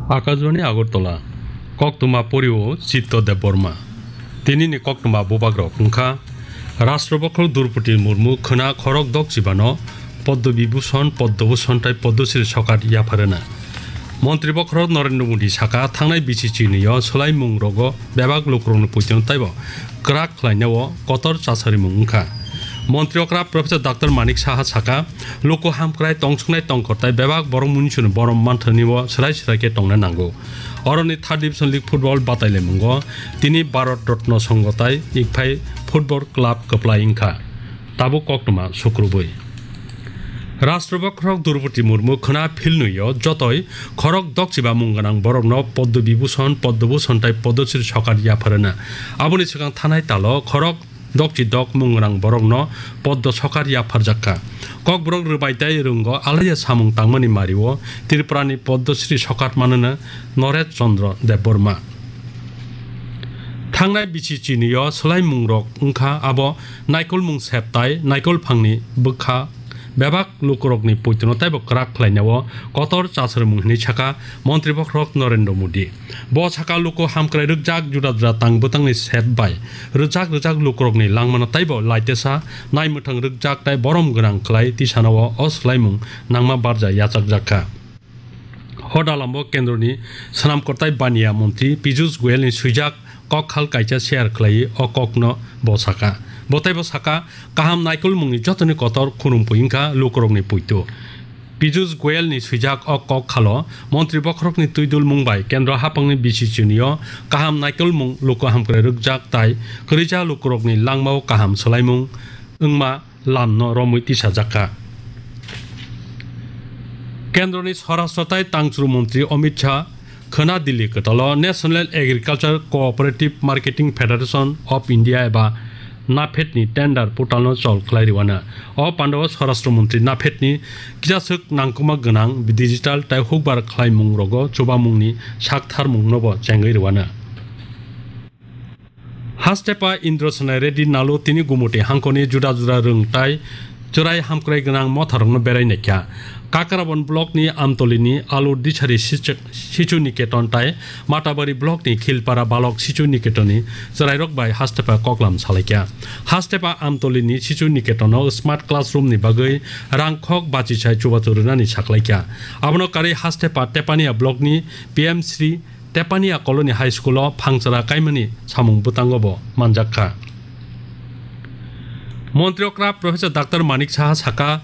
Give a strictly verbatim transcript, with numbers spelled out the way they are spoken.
Akashbani Agartala, koktwma porio Chitto Debbarma. Tinini koktwma bubagrok wngkha, Rashtra Bokhorok Droupadi Murmu khwna khorok dokchibano Padma Vibhushan, Padma Bhushan tai Padma Shri sokat yapharwna. Montri Bokhorok Narendra Modi saka, thangnai bisi chinio swlaimung rogo bebak lukurokni poitono taibo kwrak khlainao kotor chasarimung wngkha. Montri okra Professor Doctor Manik Saha saka, luku hamkrai tongsuknai tongkor tai bebak borok munisuni borom manthani o swrai swrai khe tongna nango. Oroni third division league football batailaimungo tini Bharat Ratna Songho tai Ikphai Football Club kwplai wngkha. Tabuk koktwma sukrubui. Rashtra Bokhorok Droupadi Murmu khwna philnwio jotoi khorok dokchiba mung gwnang borokno Padma Vibhushan, Padma Bhushan tai Padma Shri sokat yapharwna. Aboni swkang thanai talo khorok dokchi dok mung gwnang borokno Padma sokat yapharjakha. Kokborok rwbai tai rwngo alaiya samung tangmani mario Tripurani Padma Shri sokat manwna Naresh Chandra Debbarma. Thangnai bisi chinio swlaimungrok wngkha abo naikolmung sep tai naikol phangni bwkha bebak lukurokni poitono taibo kwrak khlainao kotor chasrwmung hinwi saka Montri Bokhorok Narendra Modi. Bo saka luku hamkrai rwkjak juda juda tang bwtangni sep bai rwjak rwjak lukurokni langmano taibo laitesa naimwthang rwkjak tai borom gwnang khlai tisanao o swlaimung nangma barja yachakjakha. Hoda lambo kendroni swnam kwtai baniya montri Piyush Goyalni swijak kok khal kaisa share khlaiwi o kokno bo saka. Bo taibo saka, kaham naikolmungni jotoni kotor khunumphwi wngkha lukurokni poito. Piyush Goyalni swijak o kok khalo montri bokhorokni twidulmung bai kendro haphangni bisi chinio kaham naikolmung luku hamkrai rwkjak tai kwrwija lukurokni langmao kaham swlaimung wngma lamno romwi tisajakha. Kendroni Swarashtra tai Tangchwrwng Montri Amit Shah khwna Delhi kwtalo National Agriculture Cooperative Marketing Federation of India eba NAFED ni tender portal no chol khlai rwano. O pandao Swarashtra Montri NAFED ni kisaswk nangkukma gwnang digital tai hukbar khlaimung rogo chubamungni saktharmung nobo chengwi rwano. Hastepa Indra Sanai Reddy Nalu tini Gumuti hangkoni juda juda rwng tai chwrai hamkrai gwnang motharokno berai naikha. Kakrabon block ni Amtoli ni Alu Disari sichu, sichu Niketon tai Matabari block ni Khilpara Balok sichu Niketon ni chwrairok bai hastepa koklam salaikha. Hastepa Amtoli ni sichu Niketon o smart classroom ni bagwi rang khok bachisai chubachu rwnani saklaikha. Abono karwi hastepa Tepania block ni P M Shri Tepania Colony High School o phangchara kaimani samung bwtango bo manjakha. Montri okra Professor Doctor Manik Saha saka,